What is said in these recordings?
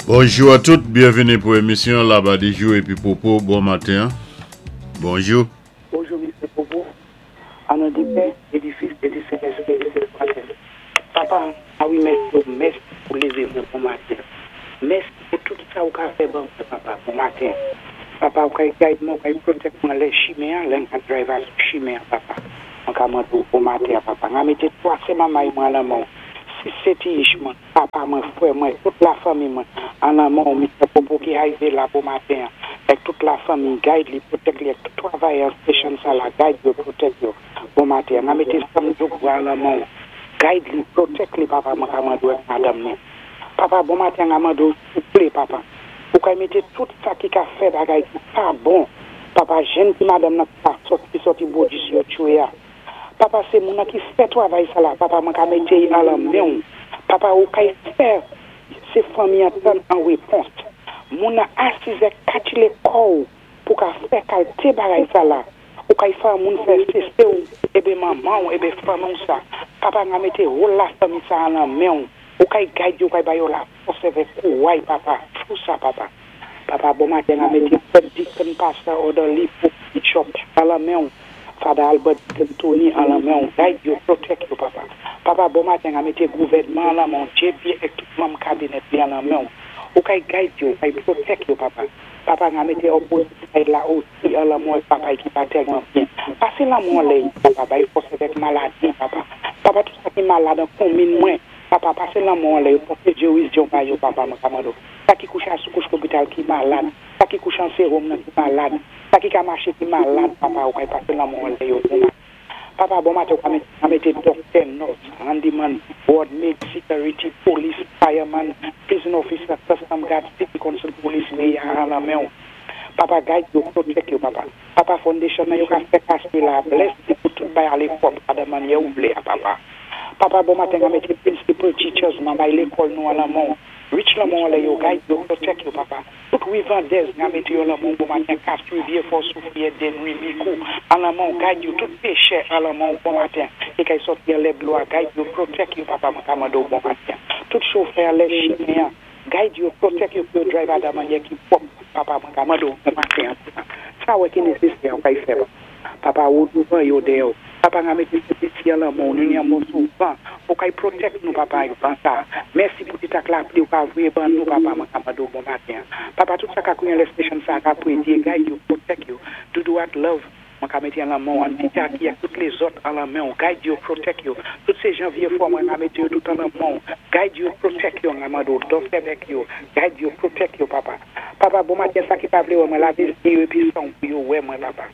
Bonjou a tout, byenvini pou emisyon Labadijou epi Popo, bon maten, bonjou. Bonjou Mister Popo, an non di Pè e di Fis e di Sentespri e di Sentespri. Papa, a wi mèsi o mèsi pou leve mwen bon maten. Mèsi pou tout sa ou ka fè ban mwen papa bon maten. Papa ou kay guide mwen, ou kay protect mwen lè chimen an, lè m ka drive a sou chimen an papa. Mwen ka mande ou bon maten an papa. Nga mete 3 se mamay mwen an lanmen w, 6 se ti ich mwen. Papa mwen, frè mwen, tout la fanmi mwen, an lanmen w Mister Popo ki arive la bon maten an, èk tout la fanmi, guide li, protect li èk tout travayè an station sa la, guide yo, protect yo, bon maten an, nan mete Sam Djoukbra an lanmen w, guide li, protect li papa mwen ka mande w èk madanm li. Papa bon maten an nga mande w souple papa, ou kay mete tout sa ki ka fè bagay ki pa bon, papa jenn ti madanm nan ki pa sòt ki sòti brodis yo tchwe a. Papa se moun nan ki fè travay sa la papa mwen ka mete y an lan menw papa ou kay fè se fanmi an tann an repons moun nan asizè katile kòw pou ka fè kalte bagay sa la ou kay fè an moun fè sese w ebe manmanw ebe fanmiw sa papa nga mete wol la fanmi sa an lan menw ou kay gad yo kay ba yo la fòs evèk kouray papa fou sa papa. Papa bon maten a mete prèt deacon pastè orderly pope bishop an lan menw Father Albert deacon Tony an lan menw guide yo protect yo papa Papa bon maten a mete gouvènman an lan menw JB ek tout manm kabinèt li an lan menw ou kay guide yo ou kay protect yo papa Papa nga mete opposite side la osi an lan menw ek papay ki pa tèlman byen pase lanmò anlè yo papa bay fòs evèk maladi papa Papa tout sa ki malad an konmin mwen papa pase lanmò anlè yo pòte gerizyon ba yo papa mwen ka mande w. Sa ki kouche a sou kouch lopital ki malad, sa ki kouche an serum nan ki malad, sa ki ka mache ki malad papa ou kay pase lanmò anlè yo bon maten papa bon maten ou ka mete ka mete doktè nurse handyman ward maid security police fireman prison officer custom guard city council police meyè a lan menw papa guide yo protect yo papa papa foundation nan yo ka fè kase la bless li pou tout bay ale pwòp ladan manyè ou vle a papa papa bon maten ka mete principal teachers manmay lekòl nou an lan menw Rich lanmò anlè yo guide yo protect yo papa tout wi vandèz nga mete yo lanmò bon maten castri vye fò soufriyè denwi mikou an lanmò guide yo tout pechè an lanmò bon maten ki kay sòti anlè dlo a guide yo protect yo papa mwen ka mande w bon maten tout chofè anlè chimen an guide yo protect yo pou yo drive a da manyè ki pwòp papa mwen ka mande w bon maten an papa sa wè ki nesesè a ou kay fè papa. Papa ou douvan yo dèyèw papa nga mete sentespri an lanmò w nou ni an mòso van ou kay protect nou papa ak van sa mèsi pou ti tak lapli ou ka voye ban nou papa mwen ka mande w bon maten an papa tout sa ka kouri anlè station sa ka prediye guide yo protect yo doudou ak love mwen ka mete an lanmò w an ti jaki ak tout lezòt an lanmen w guide yo protect yo tout se jan vye fò mwen ka mete yo tout an lanmò w guide yo protect yo nga mande w dòsèvèk yo guide yo protect yo papa. Papa bon maten sa ki pa vle wè mwen lave zye yo epi sanw pou yo wè mwen papa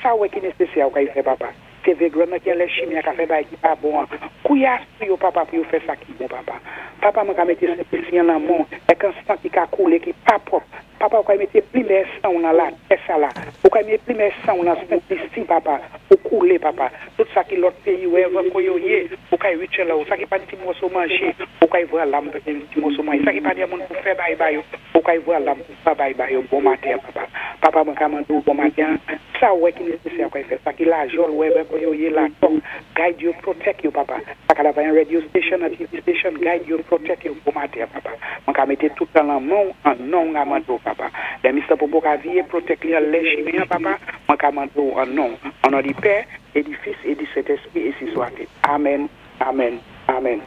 sa ou wè ki nesesè a ou ka fè papa se vegran nan ki anlè chimi a ka fè bagay ki pa bon an kouya sou yo papa pou yo fè sa ki bon papa papa mwen ka mete sentespri an lanmò èk an sang ki ka koule ki pa pwòp papa ou ka mete plimè sanw lan latè sa la ou ka mete plimè sanw lan sentlisi papa pou koule papa tout sa ki lòt peyi wherever ko yo ye ou kay riche la ou sa ki pa ti mòso manje ou kay vra lam pou ti mòso manje sa ki pa gen moun pou fè bay ba yo ou kay vra lam pou fè bay ba yo bon maten papa papa mwen ka mande ou bon maten sa ou wè ki nesesè ou kay fè sa ki lajòl wherever ko yo ye la tòk guide yo protect yo papa sa ka travay an radio station an TV station guide yo protect yo bon maten papa mwen ka mete tout an lan men w an non w nga mande w papa lè Mister Popo ka viye protect li an lè chimen an papa mwen ka mande w an non w an non di pè e di fis e di sentespri e si swate amen amen amen.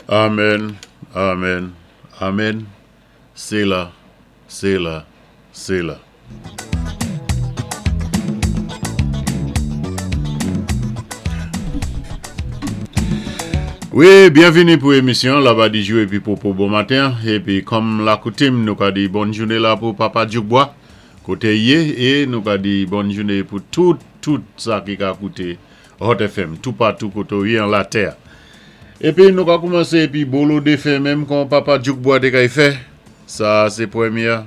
Amen amen amen sela sela sela. Wi, byenvini pou emisyon Labadijou epi Popo bon maten. Epi kòm lakoutim nou ka di bòn joune la pou Papa Djoukbwa kote ye e nou ka di bòn joune pou tout tout sa ki ka koute Hot FM toupatou kote ou ye an latè. Epi nou ka koumanse epi bolo defen menm kon Papa Djoukbwa te kay fè. Sa a se premyè.